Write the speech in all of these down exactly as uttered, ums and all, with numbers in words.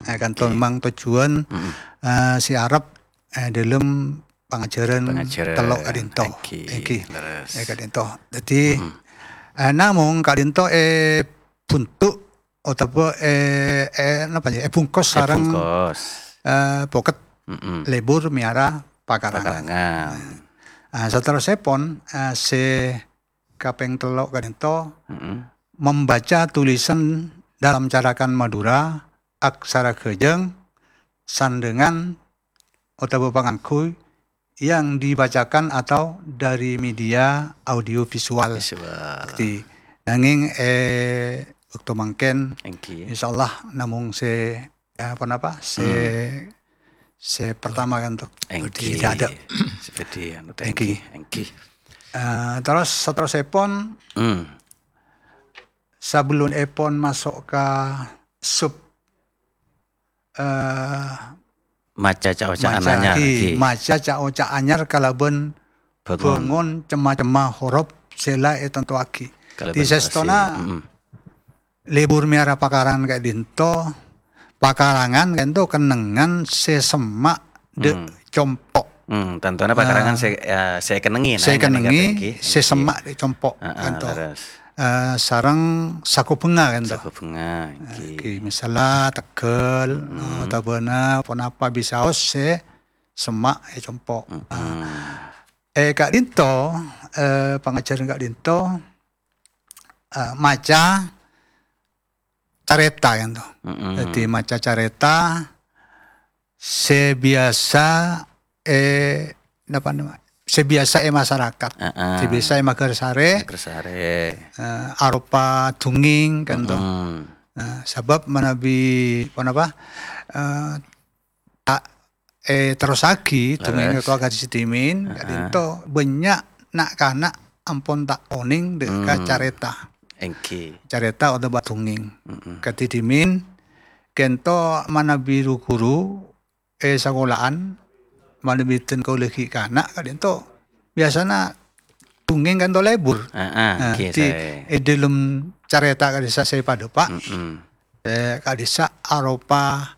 Eh, kanto Èngghi. Memang tojjhuwân, Mm-mm. eh, sè arep, eh, dâlem pangajhârân Pangajhârân. Tello' ka'dinto. Èngghi. Èngghi. Leres. Eh, ka'dinto. Dhâddhi, Mm-mm. eh, namong ka'dinto èbhunto' otabâ è, è, napa ya, èbungkos sareng, Èbungkos. eh, poket Mm-mm. lebur mèyara pakarangan. Pakarangan. Ah, saterrossèpon, eh, sè kapèng tello' ka'dinto, Mm-mm. membaca tulisan dalam carakan Madura, aksara ghâjâng, sandhângan, otabâ pangangghuy yang dibacakan atau dari media audiovisual. Visual. Jadi, nangèng, eh, bâkto mangkèn, Èngghi. insyaallah namong sè, eh, apa napa, sè, Hmm. sè pertama ka'dinto. Èngghi. Jadi, tidak ada. Seperti anu, Èngghi. Èngghi. Èngghi. Eh, terros saterrossèpon, Hmm. sabellunèpon maso' ka sub eh, Maca ca'-oca'an maca anyar, èngghi, èngghi. Maca ca'-oca' anyar kalabân Bângon. Bângon cem-macemma horop sè la ètantowaghi. Kalabân Di sèstona, fasih. Mm-mm. lebur mèyara pakarangan ka'dinto, pakarangan ka'dinto kennengngan sè semma' dâ' Hmm. compo'. Hmm, tantona pakarangan Ah. sè, eh, sè èkennengngè, Sè nah, èkennengngè, èngghi, sè èngghi. Semma' dâ' compo', Ah, ah, ka'dinto. Leres. Eh, sareng sako bhânga ka'dinto. Sako bhânga, èngghi. Èngghi, misalla tegghâl, Mm-mm. otabâna ponapa bisaos sè semma' è compo'. Mm-mm. Eh, ka'dinto, eh, pangajhârân ka'dinto, eh, maca carèta, ka'dinto. Mm-mm. Dhâddhi, maca carèta, sè biyasa, eh, napa nama, sè biyasa è masarakat, Heeh. sè biyasa è maghârsarè, Maghârsarè. eh, aropa dongèng, ka'dinto. Mm-mm. Nah, sabâb manabi, ponapa, eh, ta', eh, terrossaghi dongèng Leres. Katowa Gadhi Sèdhimèn, Heeh. ka'dinto bânnya' na'-kana' ampon ta' onèng dâ' ka Hmm. carèta. Èngghi. Carèta otabâ dongèng. Mm-mm. Kadhi dhimèn, ka'dinto manabi ru-ghuru è sakola'an, manabi dhân kaulâ ghi' kana', ka'dinto biyasana dongèng ka'dinto lebur. Ah, ah, Nah, èngghi, di, saè. è dâlem carèta ka'dissa' sè padâpa', Mm-mm. eh, ka'dissa' aropa,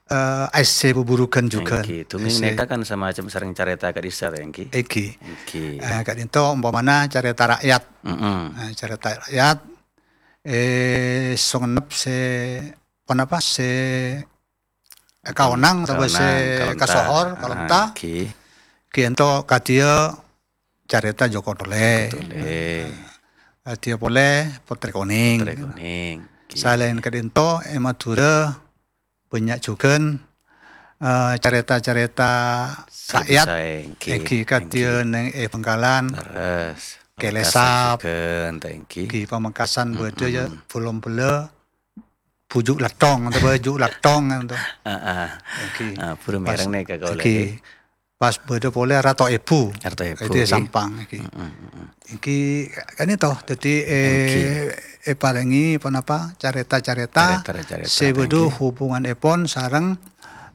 eh, essè buburughân jhughân. Èngghi, dongèng Essè. nèka kan samacem sareng carèta ka'dissa', ta, èngghi? Èngghi. Èngghi. Eh, ka'dinto ompamana carèta ra'yat. Mm-mm. Eh, carèta ra'yat, eh, songennep sè, ponapa, sè kaonang, otabâ sè Kaonang, kalonta. kasohor, Ah, kalonta. èngghi. Ka'dinto kadhiyâ carèta Joko Tole. Tole. Kadhiyâ polè Potrè Konèng. Potrè Konèng. Èngghi. Salaèn ka'dinto, è Madhurâ bânnya' jhughân, eh, carèta-carèta Sè ra'yat. bisa, èngghi. Èngghi, kadhiyâ Èngghi. neng è Bhângkalan. Leres. Kèlèsap. Pamekasan jhughân, ta, èngghi. Èngghi, Pamekasan bâdâ, ya, Mm-mm. Bhulom Bellâ. Bhuju' Lathong, otabâ Ju' Lathong, ka'dinto. Ah, ah. Èngghi. Ah, buru Pas, mèreng nèka kaulâ, èngghi. èngghi. Pas bâdâ polè Rato Èbu. Rato Èbu, Itu ya, èngghi. Sampang, èngghi. Mm-mm, mm-mm. Èngghi, ka'dinto. Dhâddhi, eh, Èngghi. èparèngè ponapa carèta-carèta Carèta-carèta, sè bâdâ èngghi. hubunganèpon sareng,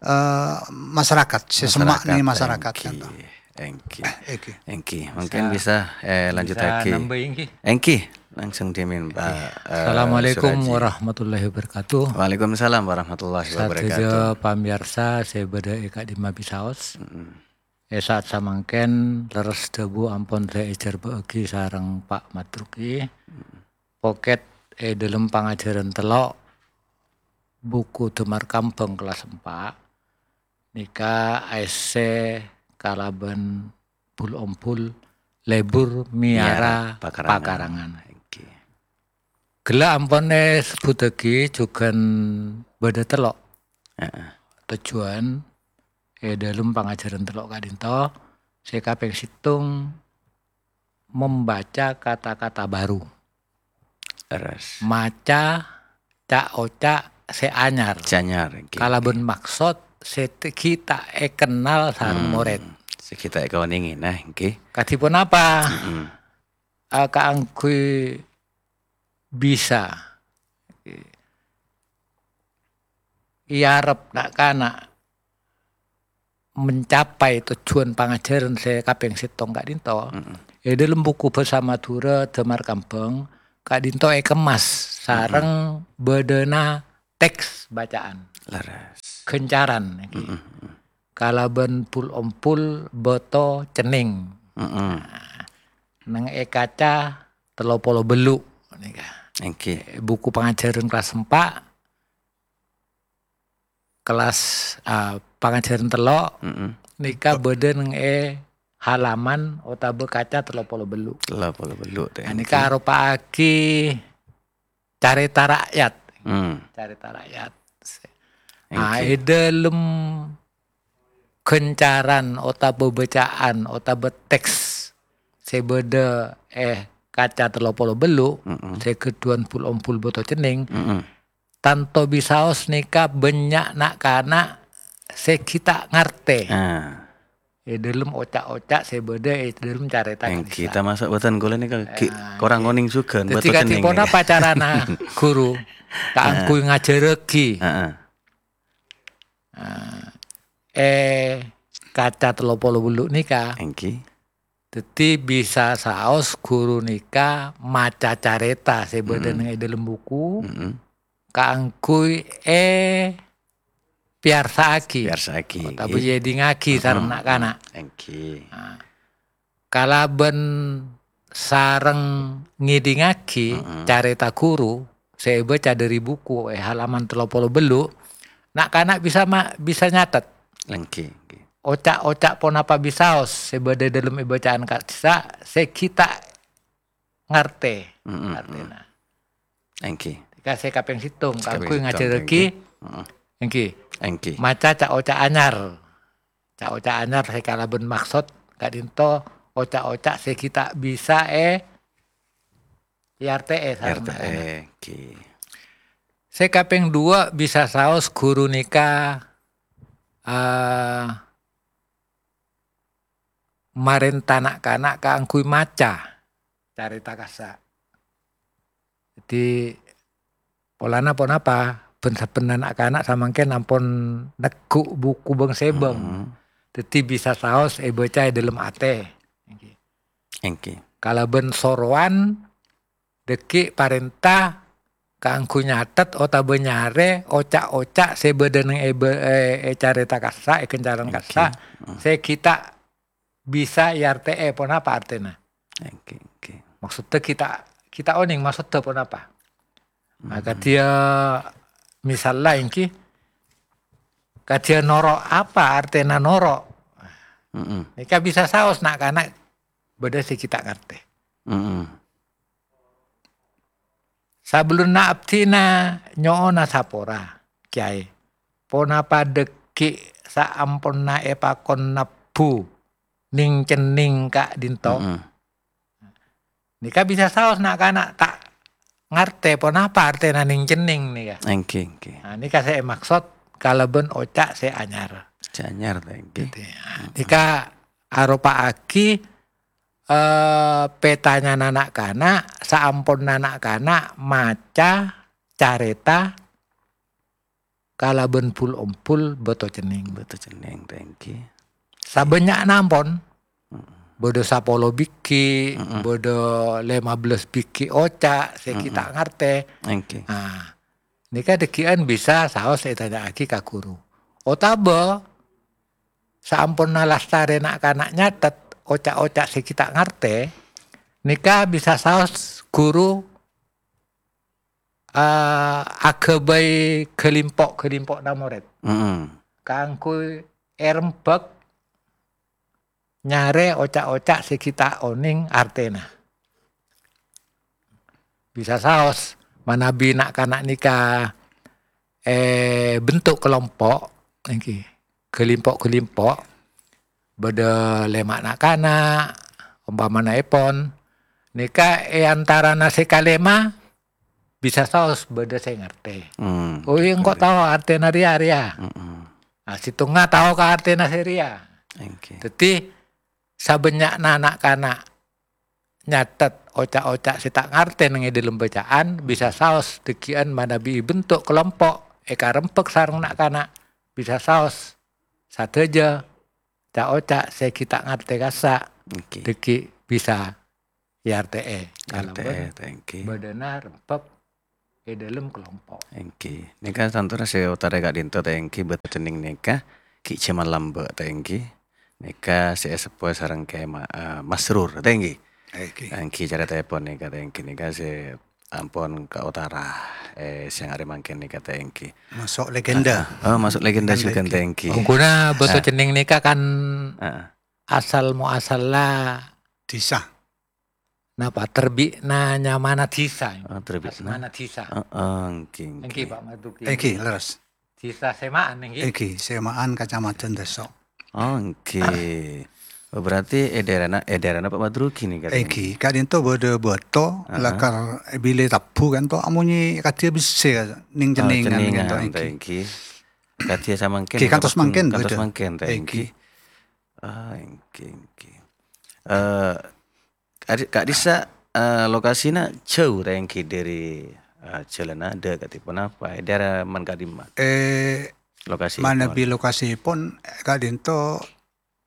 eh, masarakat, sè semma' Masarakat, neng masarakat, èngghi. ka'dinto. Èngghi. Èngghi. Èngghi. Mungkin Bisa. bisa, eh, Bisa lanjutaghi. nambâhi, èngghi. Èngghi. Langsung dhimèn, Pak, eh, Assalamualaikum Suraji. warahmatullahi wabarakatuh. Waalaikumsalam warahmatullahi Sadhâjâ wabarakatuh. pamèyarsa sè bâdâ è ka'dimma bisaos. Mm-mm. È sa'at samangkèn, lerres dhâbu ampon sè èjhârbâ'âghi sareng Pak Madruki. Mm-mm. Pokèt è dâlem pangajhârân tello', buku Damar Kambhâng kellas empa', nèka aèssè kalabân bul-ombul lebur mèyara Mèyara pakarangan. pakarangan. Èngghi. Ghellâ' ampon èsebbhuttaghi jhughân bâdâ tello'. Heeh. Tojjhuwân è dâlem pangajhârân tello' ka'dinto, sè kapèng sèttong, membaca kata-kata baru. Leres. Maca ca'-oca' sè anyar. Sè anyar, èngghi. Kalabân maksod sè te-, ghi' ta' èkennal sareng Hmm. morèd. Sè ghi' ta' èkaonèngè, nah, èngghi. Kadhi ponapa? Mm-mm. Ah, kaangghuy bisa èarep na'-kana' mencapai tojjhuwân pangajhârân sè kapèng sèttong ka'dinto, Mm-mm. è dâlem buku Bhâsa Madhurâ Damar Kambhâng ka'dinto èkemmas Mm-mm. sareng bâdâna teks bacaan. Leres. Gancaran, ngghi. Mm-mm. Kalabân bul-ombul bâto cennèng. Mm-mm. Nah, neng è kaca tello polo bellu' nèka. Èngghi. Buku pangajhârân kelas empa', kelas, ah, pangajhârân tello', Mm-mm. nèka bâdâ neng è halaman otabâ kaca tello polo bellu'. Tello polo bellu', tè, Nah, nèka èngghi. aropa'aghi carèta ra'yat. Hmm. Carèta ra'yat. Ah, Èngghi. è dâlem gancaran otabâ bâcaan otabâ teks sè bâdâ è kaca tello polo bellu', Mm-mm. sè ghâdhuwân bul-ombul bâto cennèng, Mm-mm. tanto bisaos nèka bânnya' na'-kana' sè ghi' ta' ngartè. Ah. È dâlem oca'-oca' sè bâdâ è dâlem carèta Èngghi, ka'dissa'. Tamaso' bhâdhân kaulâ nèka ghi' Ah, korang èngghi. onèng jhughân Dhâddhi bâto cennèng kadhi ponapa nèka. carana ghuru kaangghuy ngajhârraghi? Heeh. Ah, è kaca tello polo bellu' nèka. Èngghi. Dhâddhi bisa saos ghuru nèka maca carèta sè bâdâ Mm-mm. neng è dâlem buku Mm-mm. kaangghuy èpèyarsa'aghi Pèyarsa'aghi, otabâ èngghi. èdingngaghi sareng Mm-mm. na'-kana'. Èngghi. Nah, kalabân sareng ngèdingngaghi Mm-mm. carèta ghuru sè èbâca dâri buku è halaman tello polo bellu', na'-kana' bisa ma-, bisa nyatet. Èngghi, èngghi. Oca'-oca' ponapa bisaos sè bâdâ dâlem è bâcaan ka'dissa' sè ghi' ta' ngartè Mm-mm, artèna. Èngghi. Nèka sè kapèng sèttong, Sè kapèng kaangghuy sèttong, ngajhârraghi, èngghi. Heeh. èngghi. Èngghi. Maca ca'-oca' anyar. Ca'-oca' anyar sè kalabân maksod ka'dinto oca'-oca' sè ghi' ta' bisa è, èartè'è sareng R T E, na'-kana'. èngghi. Sè kapèng duwâ' bisa saos ghuru nèka, ah, marènta na'-kana' kaangghuy maca carèta kassa'. Dhâddhi, polana ponapa, bân-sabbhân na'-kana' samangkèn ampon neggu' buku bâng-sèbâng. Mm-hmm. Dhâddhi bisa saos èbâca è dâlem atè. Èngghi. Èngghi. Kalabân sorowan dhâggi' parènta kaangghuy nyatet otabâ nyarè oca'-oca' sè bâdâ neng è bâ-, è, è carèta kassa', è gancaran Èngghi. kassa', Mm. sè ghi' ta' bisa èartè'è ponapa artèna. Èngghi, èngghi. Maksoddhâ ghi' ta', ghi' ta' onèng maksoddhâ ponapa. Nah, Mm. kadhiyâ misalla èngghi, kadhiyâ noro' apa artèna noro'? Mm-mm. Nèka bisa saos na'-kana' bâdâ sè ghi' ta' ngartè. Mm-mm. Sabellunna abdhina nyo'ona sapora, Kèyaè. Ponapa dhâggi' saamponna èpakon nebbhu nèng-cennèng ka'dinto? Mm-mm. Nèka bisa saos na'-kana' ta' ngartè ponapa artèna nèng-cennèng nèka. Èngghi, èngghi. Nah, nèka sè èmaksod kalabân oca' sè anyar. Sè anyar, èngghi. Gitu, ya. Mm-mm. Nèka aropa'aghi eh, pètanyana na'-kana', saamponna na'-kana' maca carèta kalabân bul-ombul bâto cennèng. Bâto cennèng, èngghi. Sabânnya'na ampon, Mm. bâdâ sapolo bighi', Mm-mm. bâdâ lèma bellâs bighi' oca' sè ghi' Mm-mm. ta' ngartè. Èngghi. Nah, nèka dhâggi'ân bisa saos ètanya'aghi ka ghuru. Otabâ, saamponna lastarè na'-kana' nyatet oca'-oca' sè ghi' ta' ngartè, nèka bisa saos ghuru, eh, aghâbây ghâlimpo'-ghâlimpo'na morèd. Mm-mm. Kaangghuy èrembhâk nyarè oca'-oca' sè ghi' ta' onèng artèna. Bisa saos manabi na'-kana' nèka, eh, bentuk kelompok, èngghi, ghâlimpo'-ghâlimpo', bâdâ lèma' na'-kana', ompamana èpon, nèka è antarana sè kalèma, bisa saos bâdâ sè ngartè. Hmm, Oh, iyâ, engko' betul. tao artèna rèya, rèya. Mm-mm. Nah, sèttongnga tao ka artèna sè rèya. Èngghi. Dhâddhi, sabânnya'na na'-kana' nyatet oca'-oca' sè ta' ngartè neng è dâlem bâcaan, bisa saos dhâggi'ân manabi bentuk kelompok èkarembhâk sareng na'-kana', bisa saos sadhâjâ ca'-oca' sè ghi' ta' ngartè kassa', Èngghi. dhâggi' bisa èartè'è. Èartè'è, kalabân èngghi. bâdâna rembhâk è dâlem kalompo'. Èngghi. Nèka tanto sè otarè ka'dinto ta' èngghi bâto cennèng nèka ghi' jhâman lambâ' ta' èngghi. Nèka sè èseppo sareng Kè Ma-, eh, Masrur ta' èngghi. Èngghi. Èngghi carètaèpon nèka ta' èngghi nèka sè ampon kaotara, eh, sèyang arè mangkèn nèka ta' èngghi. Maso' legenda. Ah, ah. Oh, maso' legenda Legenda jhughân èngghi. ta' èngghi. Ongguna bâto Ah. cennèng nèka kan Ah. asal muasalla Dhisa. Napa? Terbi'na nyamana dhisa. Ah, terbi'na. Asmana dhisa. Ah, ah, èngghi, Èngghi, èngghi. Pak Marduki. Èngghi, leres. Dhisa Sèma'an, èngghi. Èngghi, Sèma'an, Kacamadhân Desso. Oh, èngghi. Oh, berarti è daerahna, è daerahna Pak Marduki nèka, ta' Èngghi, èngghi? Ka'dinto bâdâ bâto, Ah, ah. lakar bilâ tabbhu kan to, amonyè kadhiyâ bessè, nèng Oh, cennèngan cennèngan, kan to, ta' èngghi. èngghi? Kadhiyâ samangkèn, Èngghi, kantos mangkèn kantos bâdâ. mangkèn, ta' Èngghi. èngghi? Ah, èngghi, èngghi. Eh, Ka'di-, ka'dissa', eh, lokasina jhâu ta' èngghi dâri, eh, jhâlânna dâ' ka'dinto ponapa? È daerah man ka'dimma? Eh, Lokasi manabi pon. lokasipun, eh, ka'dinto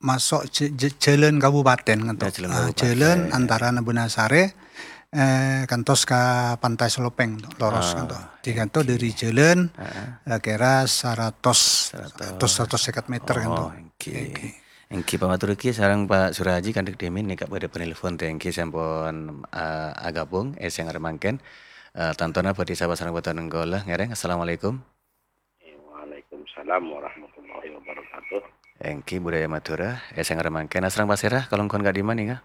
maso' jhâ-, jhâ-, jhâlân kabupatèn, kan to? Ya, jhâlân Ah, kabupatèn. jhâlân antara Nebunasare, eh, kantos ka Pantai Selopeng, to, loros, kan to. Ah, Di kanto èngghi. dâri jhâlân, Ah, ah. eh, kèra saratos, Saratos. saratos, saratos sèket meter, kan to. Oh, èngghi. Èngghi. Èngghi, Pak Matur èngghi sareng Pak Suraji kandhâk dhimèn nèka bâdâ penelpon ta' èngghi sampon, eh, aghâbung, eh, sèyang arè mangkèn. Eh, tantona bhâdhi sapa sareng bhâdhân kaulâ ngèrèng. Assalamualaikum. Waalaikumsalam warahmatullahi wabarakatuh. Èngghi, budaya Madhurâ, eh, sèyang arè mangkèn. Asareng pasèra, kalongghun ka'dimma nèka?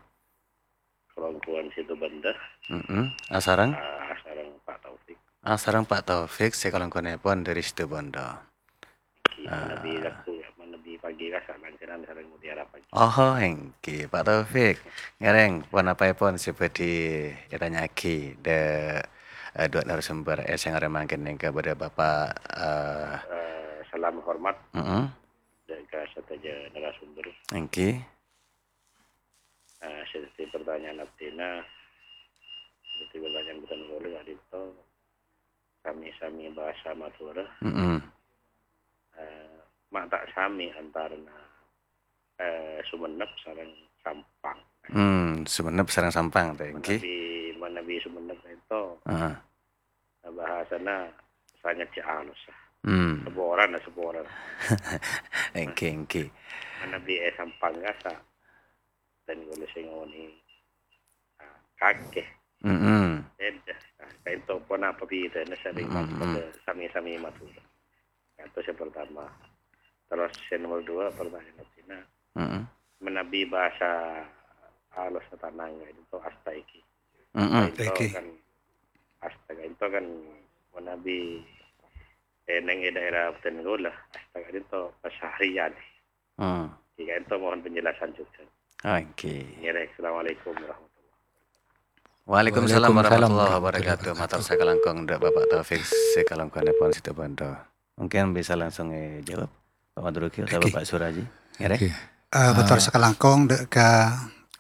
Kalongghun Situbondo. Mm-mm. Asareng? Ah, asareng Pak Taufik. Asareng Pak Taufik, sè kalongghunèpon dâri Situbondo. Èngghi, Ah. manabi waktu, manabi pagi kassa' langkènan sareng Mutiara Pagi. Oh, èngghi, Pak Taufik. Ngèrèng, ponapaèpon sè bhâdhi ètanya'aghi dâ', eh, duwâ' narasumber, eh, sèyang arè mangkèn nèka bâdâ Bapak, eh, Eh, salam hormat Mm-mm. dâ' ka sadhâjâ narasumber. Èngghi. Eh, sè dhâddhi pertanyaan abdhina, sè dhâddhi pertanyaan bhâdhân kaulâ ka'dinto, sami-sami bhâsa Madhurâ. Mm-mm. Eh, ma' ta' sami antarana, eh, Songennep sareng Sampang. Hmm, Songennep sareng Sampang, ta' èngghi? Manabi, manabi Songennep ènto, Heeh. Bhâsana sanget cè' alos, ah. Hmm. Saporana, saporana. Èngghi, èngghi. Manabi è Sampang kassa', bhâdhân kaulâ sè ngonè'è, ah, kakè. Mm-mm. Bhidhâ. Ah, ka'dinto ponapa bhidhâna sareng Mm-mm. Madhurâ, sami-sami Madhurâ. Itu sè pertama. Terros sè nomor dua, pertanyaan abdhina. Mm-mm. Manabi bhâsa alos tanang ka'dinto asta èngghi. Mm-mm. Ka'dinto Èngghi. kan asta ka'dinto kan manabi, eh, neng è daerah bhâdhân kaulâ, asta ka'dinto keseharian. Hmm. Ka'dinto mohon penjelasan juga. Ah, èngghi. Ngèrèng, assalamualaikum warahmatullahi wabarakatuh. Waalaikumsalam Waalaikumsalam warahmatullahi warahmatullahi wabarakatuh. Mator wabarakatuh. sakalangkong dâ' Bapak Taufik sè kalangkonèpon Situbondo. Mungkin bisa langsung èjawab, Pak Madruki atau Èngghi. Bapak Suraji. Ngèrèng? Èngghi. Eh, mator Ah. sakalangkong dâ' ka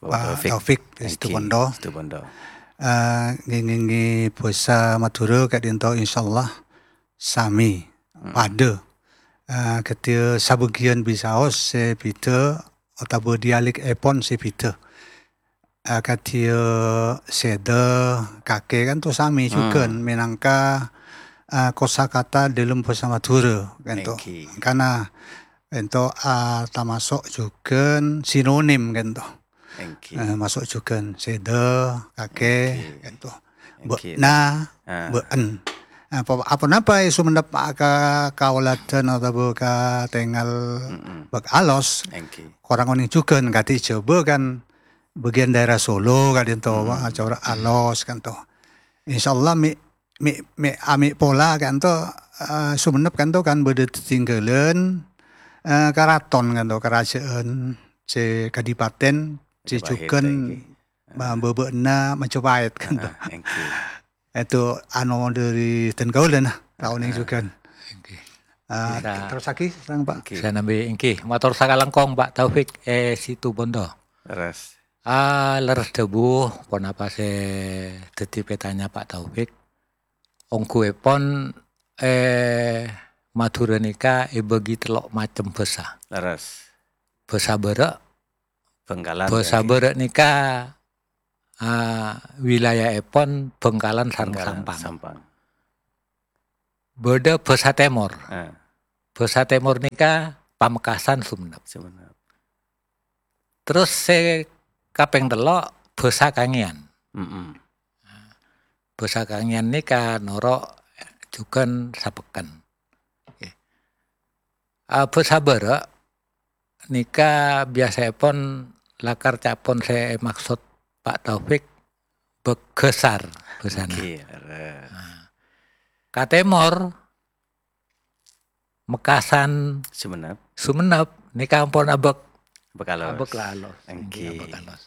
Bapak Pak Taufik. Taufik Èngghi, Situbondo. Situbondo. Eh, ngèngèngè bhâsa Madhurâ ka'dinto insyaallah sami, Hmm. padâ. Eh, kadhiyâ sabâgiyân bisaos sè bhidhâ otabâ dialèkèpon sè bhidhâ. Eh, kadhiyâ sèdâ, kakè kan to sami Hmm. jhughân mènangka, eh, kosakata dâlem bhâsa Madhurâ kan to. Èngghi. Mangkana kan to, ah, tamaso' jhughân sinonim kan to. Èngghi. Eh, maso' jhughân sèdâ, kakè, Èngghi. kan to. Èngghi. Bâ'na, Ah. bâ'en. Apa, apa napa è Songennep ka, kaoladhân otabâ katèngal Mm-mm. bâk alos? Èngghi. Korang onèng jhughân kadhi Jhâbâ kan bâgiyân daerah Solo ka'dinto, Mm-mm. corak alos kan to. Insyaallah mè', mè', mè', amè' pola kan to, eh, Songennep kan to kan bâdâ tetinggalan, eh, karaton kan to, kerajaan sè kadipaten, sè Majapahit jhughân èngghi. ma-, bâbâ'na Majapahit kan to. Ah, èngghi. Itu anu dâri dân kaulâ, nah, taon Ah. jhughân. Èngghi. Ah, Bisa. terros lagi, sareng, Pak. Èngghi. Sanambi, èngghi. Mator sakalangkong, Pak Taufik, eh, Situbondo. Leres. Ah, leres dhâbu, ponapa sè dhâddhi pètanya Pak Taufik? Ongghuèpon, eh, Madhurâ nèka èbâgi tello' macem bhâsa. Leres. Bhâsa Bârâ'. Bhângkalan, Bhâsa ya. Bârâ' nèka, ah, wilayaèpon Bhângkalan sareng Bhângkalan, Sampang. Sampang. Bâdâ bhâsa Tèmor. Ah. Bhâsa Tèmor nèka Pamekasan, Sumenep. Sumenep. Terros sè kapèng tello' bhâsa Kangeyan. Mm-mm. Bhâsa Kangeyan nèka noro' jhughân sapèkken. Oke. Ah, bhâsa bârâ' nèka biyasaèpon lakar ca'èpon sè èmaksod Pa' Taufik bâghâsar bhâsana. Oke, lerres. Nah, ka tèmor, Mekasan, Sumenep. Sumenep, nèka ampon abâk-, Abâk alos. Abâk alos. Engghi. Engghi, abâk alos.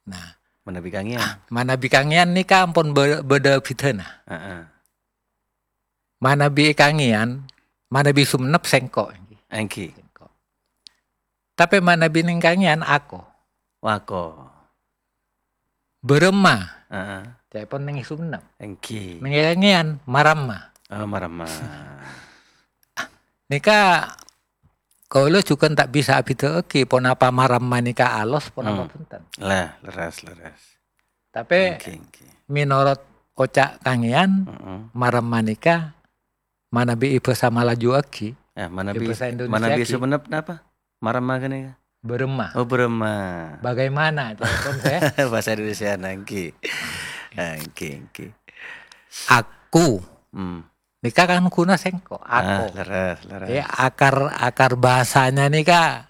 Nah, Manabi Kangeyan. Ah, manabi Kangeyan nèka ampon bâ-, bâdâ bhidhâna. Heeh. Manabi Kangeyan, manabi Sumenep sèngko', engghi. Engghi. Sèngko'. Tapè manabi neng Kangeyan ako. Wako. Bârâmma. Heeh. Ca'èpon neng Sumenep. Engghi. Neng Kangeyan, maramma. Oh, maramma. Nèka kaulâ jhughân ta' bisa abhidhâ'aghi ponapa maramma nèka alos, ponapa Hmm. bhunten. Lah, lerres, lerres. Tapè Engghi, engghi. Mènorot oca' Kangeyan, Heeh. maramma nèka manabi è bhâsa Malajuaghi, Eh, manabi, è bhâsa Indonesiaaghi. Manabi Sumenep napa? Maramma ghânèka? Bârâmma. Oh, bârâmma. Bagaimana? Ca'èpon sè Bhâsa Indonesiana, engghi. Engghi, engghi. Aku. Hmm. Nèka kan ghuna sèngko'. Ah, ako. Lerres, lerres. Ya, akar, akar bhâsana nèka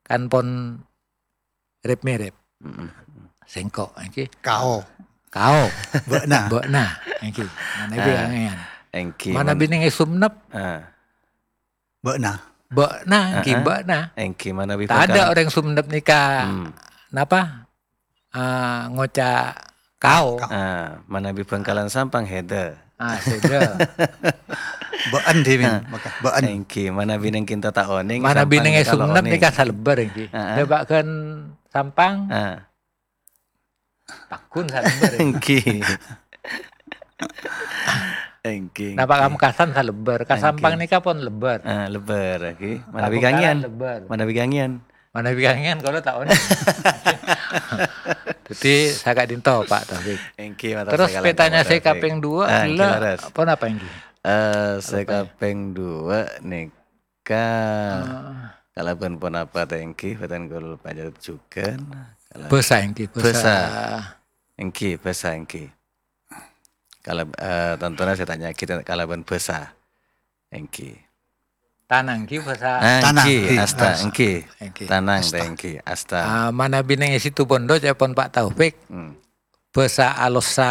kan pon rep-merep. Mm-mm. Sèngko', engghi. Kao. Kao. Bâ'na. Bâ'na, engghi. Manabi Ah, Kangeyan. Engghi. Manabi neng Sumenep. Ah. Bâ'na. Bâ'na, engghi, Heeh. Bâ'na. Engghi, manabi Bângkalan. Tadâ' orèng Sumenep nèka, Hmm. napa? Ah, ngoca' kao. Kao. Ah, manabi Bângkalan Sampang, hèdâ. Ah, sèdâ. Bâ'en, Dimin. Ah. Maka, bâ'en. Engghi, manabi neng Kinto ta' onèng, Manabi Sampang neng nèka lo Sumenep onèng. Nèka salèbâr, engghi. Heeh. Dâ' bâ'ân Sampang. Ah. Paggun salèbâr, ya. Engghi. Engghi, Napa engghi. Ka Mekasan salèbâr, ka Engghi. Sampang nèka pon lèbâr. Ah, lèbâr, engghi. Ka Manabi Bângkalan Kangeyan. Lèbâr. Manabi Kangeyan. Manabi Kangeyan kaulâ ta' onèng. Dhâddhi, saka'dinto, Pak Taufik. Engghi, mator Terros sakalangkong, pètanya Pak sè Taufik. Kapèng duwâ', Ah, engghi, ghellâ', lerres. Ponapa, engghi? Eh, sè Apa, ya? Kapèng duwâ' nèka Ah. kalabân ponapa ta' engghi, bhâdhân kaulâ panjhât jhughân. Kalabân Bhâsa, engghi, bhâsa. Bhâsa. Engghi, bhâsa, engghi. Kalab-, eh, tantona sè tanya'aghi ta-, kalabân bhâsa. Engghi. Tanang, engghi, bhâsa. Ah, Tanang, engghi, engghi, asta, bhâsa. Engghi. Engghi. Tanang, Asta. Ta' engghi, asta. Ah, manabi neng Situbondo, ca'èpon Pak Taufik, Hmm. bhâsa alossa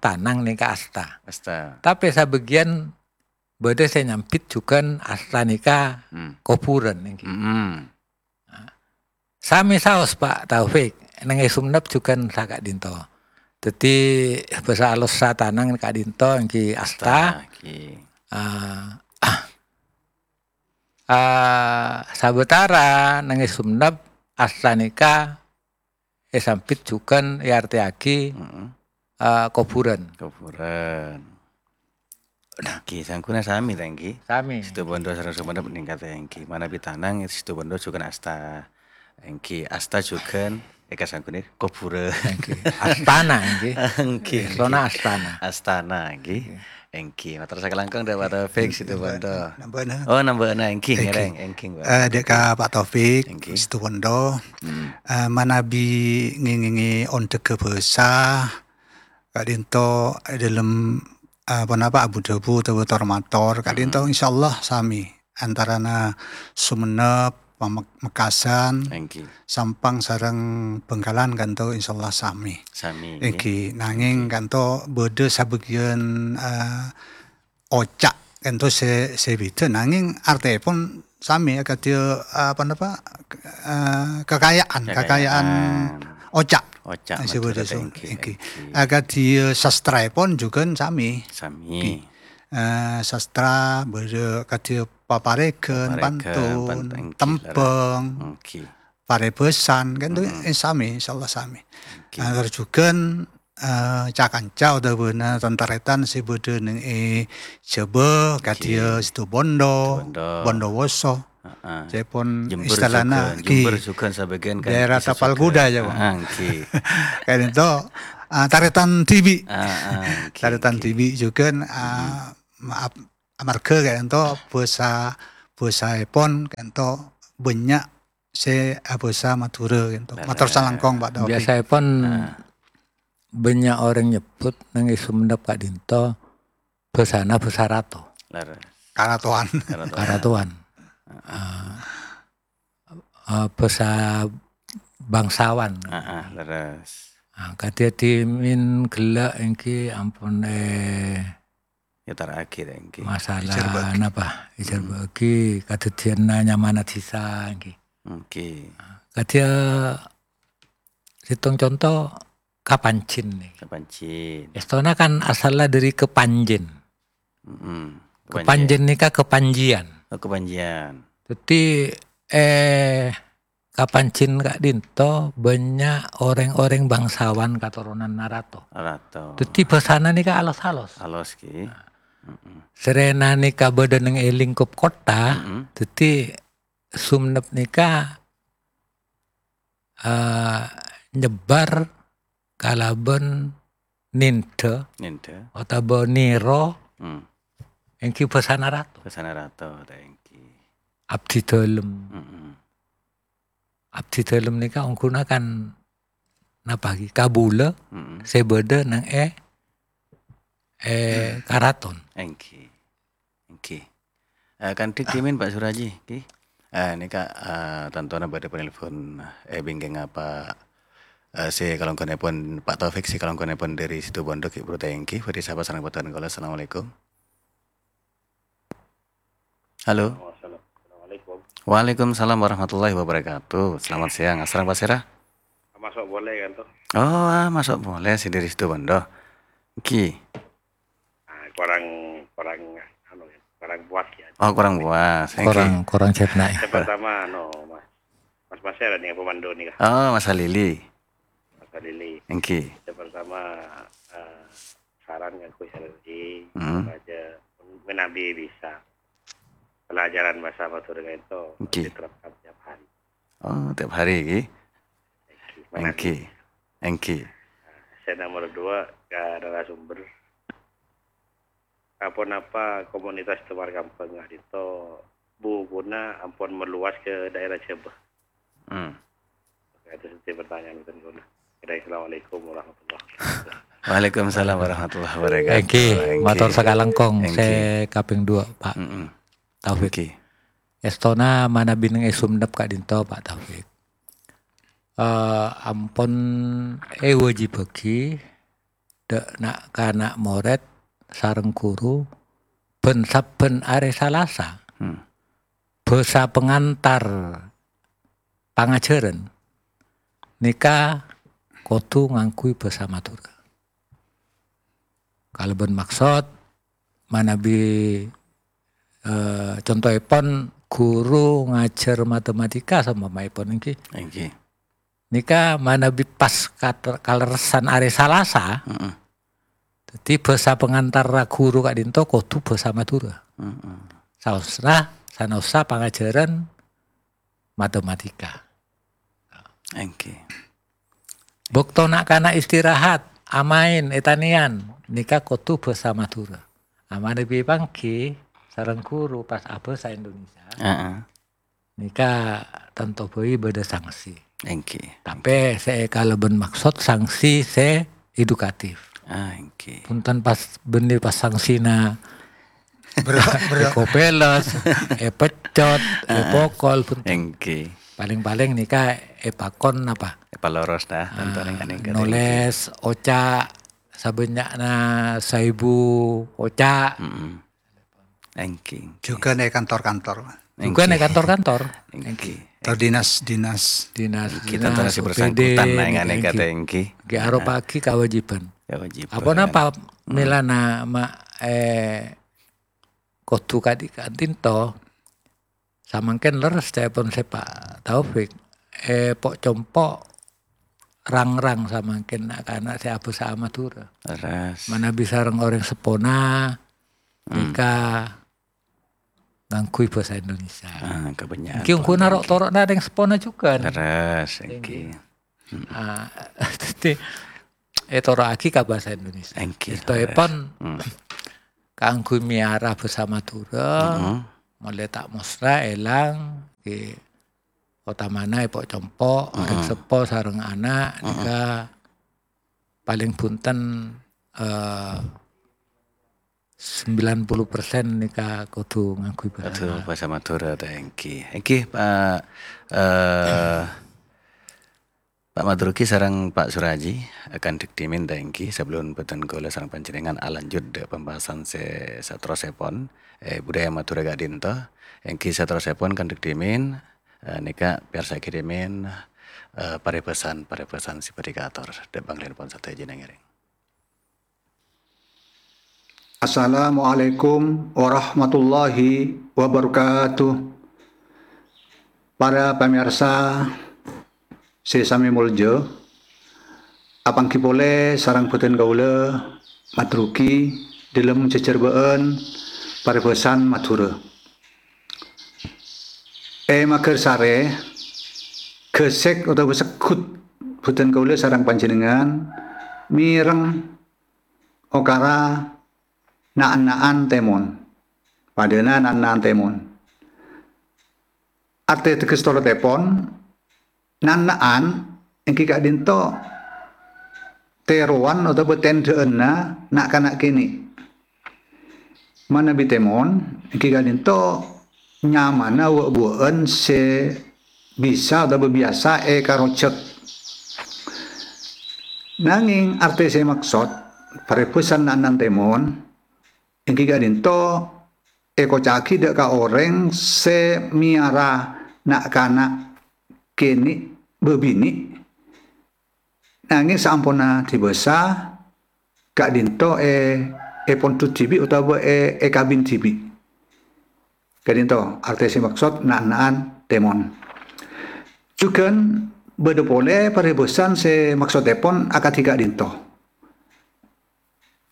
Tanang nèka asta. Asta. Tapè sabâgiyân bâdâ sè nyambit jhughân asta nèka Hmm. kobhurân, engghi. Mm-mm. Samè saos, Pak Taufik, neng è Sumenep jhughân saka'dinto. Dhâddhi, bhâsa alossa Tanang ka'dinto engghi asta. Engghi. Ah, ah, sabâtara neng è Sumenep asta nèka èsambit jhughân èartèyaghi, Mm-mm. eh, kobhurân. Kobhurân. Nah. Engghi, sangghuna sami, ta', engghi? Sami. Situbondo sareng Sumenep nèngkatè, engghi. Manabi Tanang, Situbondo jhughân asta. Engghi, asta jhughân, èkasangghunnè kobhurân. Engghi. Astana, engghi. Engghi, Èstona engghi. Astana. Astana, engghi. Engghi. Engghi, mator sakalangkong dâ' Pak Taufik, Situbondo. Nambâ-, nambâna. Oh, nambâna, engghi, Engghi. Ngèrèng, engghi, Pak. Eh, dâ' ka Pak Taufik, Engghi. Situbondo. Hmm. Eh, manabi ngèngèngè ondhâghâ bhâsa, ka'dinto è dâlem, eh, ponapa abu-dhâbu otabâ tor-mator, ka'dinto Hmm. insyaallah sami. Antarana Sumenep, Pamek-, Mekasan, Engghi. Sampang sareng Bângkalan ka'dinto insyaallah sami. Sami, Engghi, engghi. Nangèng Engghi. Ka'dinto bâdâ sabâgiyân, eh, oca' ka'dinto sè, sè bhidhâ, nangèng artèpon sami akadhi, eh, ponapa, eh, kakaya'an, kakaya'an Kakaya'an. oca'. Oca', Sè mator bhidhâ, engghi, engghi. Engghi. Akadhi sastraèpon jhughân sami. Sami. Engghi. Eh, sastra, bâdâ akadhi paparèghân, Paparèghân, pantun, pan-, engghi, tembhâng, lerres. Engghi. Parèbhâsan, ka'dinto Mm-mm. sami, insyaallah sami. Engghi. Nah, terros jhughân eh, ca-kanca otabâna tan-tarètan sè bâdâ neng è Jhâbâ, Ngghi. Kadhiyâ Situbondo, Situbondo. Bondowoso. Heeh. Saèpon Jember istilahna, jhughân, ngghi. Jember jhughân sabâgiyân kan Daerah bisa Tapal jhughân. Kuda, ya, Pak? Heeh, ngghi. Ka'dinto, ah, tarètan dhibi'. Heeh, ngghi, Tarètan ngghi. Dhibi' jhughân, ah, Hmm. maaf, Amarghâ ka'dinto bhâsa, bhâsaèpon ka'dinto bânnya' sè abhâsa Madhurâ ka'dinto. Mator salangkong, Pak Taufik. Biasaèpon bânnya' orèng nyebbhut neng è Sumenep ka'dinto bhâsana bhâsa rato. Leres. Karatowan. Karatowan. Karatowan. Ah, ah, bhâsa bangsawan. Ah, ah, leres. Ah, kadhi dhimèn ghellâ' èngghi ampon, eh, Ètara'aghi ta' èngghi? Masalah napa? Èjhârbâ'aghi kadhâddhiyânna nyamana dhisa èngghi. Èngghi. Kadhi sèttong conto kapanjin nèka. Kapanjin. Èstona kan asalla dhâri kepanjin. Mm-mm. Kepanjin. Kepanjin nèka kepanjian. Oh, kepanjian. Dhâddhi, eh, Kapanjin ka'dinto bânnya' orèng-orèng bangsawan katoronan Narato. Narato. Dhâddhi bhâsana nèka alos-alos. Alos, ghi. Mm-mm. Sèrèna nèka bâdâ neng è lingkup kottha, mm-mm, dhâddhi Sumenep nèka, eh, nyebbar kalabân nèndhâ, nèndhâ, otabâ nèro, hmm, èngghi bhâsana rato. Bhâsana rato, ta' èngghi. Abdhi dhâlem. Mm-mm. Abdhi dhâlem nèka ongghuna kan napa ghi? Kabulâ, mm-mm, sè bâdâ neng è, è karaton. Èngghi. Èngghi. Eh, kandhi dhimèn, Pak Suraji, ghi. Eh, nèka, eh, tantona bâdâ penelpon, eh, bingkèngnga Pak, eh, sè kalangkonèpon Pak Taufik, sè kalangkonèpon dhâri Situbondo, ghi, buru ta' èngghi. Bhâdhi sapa sareng bhâdhân kaulâ. Assalamualaikum. Halo. Assalamualaikum. Waalaikumsalam warahmatullahi wabarakatuh. Selamat siang. Asareng pasèra? Masuk boleh kan, toh? Oh, ah, masuk boleh, sè dhâri Situbondo. Ghi. Ah, kurang, kurang, anu, ya, kurang puas, ya. Oh, kurang puas. Èngghi. Kurang, kurang cetna, ya. Yang pertama, anu, Mas, Mas Pasera nih, pemandu nih, Kak. Oh, Mas Halili. Mas Halili. Èngghi. Yang pertama, eh, saran kan, Gus Halili, hmm, aja menabi bisa pelajaran bahasa Madura itu, èngghi, diterapkan tiap hari. Oh, tiap hari, ghi. Èngghi. Èngghi. Nah, sè nomor dua, ka narasumber. Aponapa komunitas Tewar Kampeng ka'dinto bubuna ampon meluas ke daerah Jhâbâ? Hmm. Oke, itu saja pertanyaan bhâdhân kaulâ. Oke, assalamualaikum warahmatullahi wabarakatuh. Waalaikumsalam warahmatullahi wabarakatuh. Èngghi, èngghi, mator sakalangkong, èngghi, sè kaping dua, Pak, mm-mm, Taufik. Èngghi. Èstona manabi neng è Sumenep ka'dinto, Pak Taufik. Eh, ampon èwâjibhâghi dâ' na'-kana' morèd sareng ghuru bân sabbhân arè Salasa, hmm, bhâsa pangantar pangajhârân nèka kodhu ngangghuy bhâsa Madhurâ. Kalabân maksod manabi, eh, contoèpon ghuru ngajhâr matematika saompamaèpon èngghi. Èngghi. Nèka manabi pas kat-, kalerressan arè Salasa, heeh, dhâddhi bhâsa pangantarra ghuru ka'dinto kodhu bhâsa Madhurâ. Heeh. Saosna, sanaossa pangajhârân matematika. Èngghi. Bâkto na'-kana' istirahat, amaèn, ètanèyan, nèka kodhu bhâsa Madhurâ. Amanabi pangghi sareng ghuru pas abhâsa Indonesia. Heeh. Nèka tanto bhâi bâdâ sanksi. Èngghi. Tapè sè èkalabân maksod sanksi sè edukatif. Ah, èngghi. Bhunten pas bânnè pas sangsina Bro, bro. Èkopèles, èpeccot, èpokol, bhunten. Èngghi. Palèng-palèng nèka èpakon apa? Èpaloros ta, ah, tantona nèka, nèka, nolès, èngghi, oca' sabânnya'na saèbu oca'. Mm-mm. Èngghi, èngghi. Jhughân è kantor-kantor. Jhughân è kantor-kantor. Èngghi. Èngghi. Atau dinas-dinas. Dinas, èngghi, dinas, tantona sè O P D, bersangkutan, nèka, èngghi, èngghi. Èngghi, aropa'aghi kawâjibhân. Kawâjibhân. Aponapa, hmm, mèlana ma-, eh, kodhu kadhi-, ka'dinto, samangkèn lerres ca'èpon sè Pak Taufik, eh, po'-compo' rang-rang samangkèn na'-kana' sè abhâsa Madhurâ. Lerres. Manabi sareng orèng seppona, hmm, nèka ngangghuy bhâsa Indonesia. Ah, kabânnya'an. Èngghi ongghuna ro'-toro'na orèng seppona jhughân. Lerres, èngghi. Èngghi. Hmm. Ah, dhâddhi, ètoro'aghi ka bhâsa Indonesia. Èngghi, èstoèpon, lerres. Hmm. kaangghuy mèyara bhâsa Madhurâ, Heeh. molaè ta' mosra èlang, ghi otamana èpo'-compo', Heeh. rèng seppo sareng ana', Heeh. nèka palèng bhunten, eh, sembilan puluh persen nèka kodhu ngangghuy bhâsa Aduh, Madhurâ. bhâsa Madhurâ ta' èngghi. Èngghi, Pak, eh, Pak Madruki sareng Pak Suraji, akan dhik dhimèn ta' èngghi, sabellunna bhâdhân kaulâ sareng panjhennengngan alanjut dhâ' pembahasan sè saterrossèpon, eh, budaya Madhurâ ka'dinto, èngghi saterrossèpon kan dhik dhimèn, eh, nèka pèyarsa'aghi dhimèn, eh, parèbhâsan-parèbhâsan sè bhâdhi kaator dhâ' panglènèpon sadhâjâna ngèrèng. Assalamualaikum warahmatullahi wabarakatuh. Para pamèyarsa sè samè molja, apangghi polè sareng bhâdhân kaulâ Madruki dhâlem jhâjhârbâ'ân parèbhâsan Madhurâ. È Magarsarè, ghâsèk otabâ segghut bhâdhân kaulâ sareng panjhennengngan mèreng okara na'-enna'an tèmon. Padâna na'-enna'an tèmon. Artè teges tolotèpon, na'-enna'an èngghi ka'dinto tèrowan otabâ tèndhâ'ânna na'-kana' kènè'. Manabi tèmon, èngghi ka'dinto nyamana wâ'-buwâ'ân sè bisa otabâ biyasa èkarojhâk. Nangèng artè sè èmaksod, parèbhâsan na'-enna'an tèmon, èngghi ka'dinto èkoca'aghi dhâ' ka orèng sè mèyara na'-kana' kènè' bâbinè', nangèng saamponna dibâsa, ka'dinto è-, èpondhut dhibi' otabâ è-, èkabin dhibi'. Ka'dinto artè sè maksod na'-enna'an tèmon. Jhughân bâdâ polè parèbhâsan sè maksoddhèpon akadhi ka'dinto.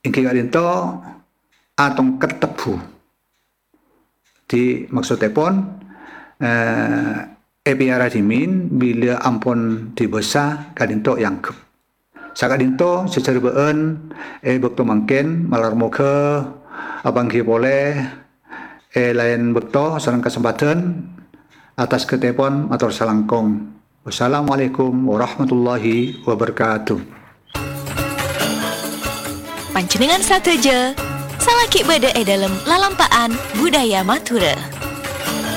Èngghi ka'dinto atongket tebbhu. Dhi, maksoddhèpon, eh, èpèyara dhimèn bilâ ampon dibâsa ka'dinto èangghep. Saka'dinto jhâjhârbâ'ân è bâkto mangkèn, malar moghâ apangghi polè è laèn bâkto sareng kasempadhân. Atas ghâtèpon mator salangkong. Wassalamualaikum warahmatullahi wabarakatuh. Panjhennengngan sadhâjâ, salaghi bâdâ è dâlem lalampa'an budaya Madhurâ.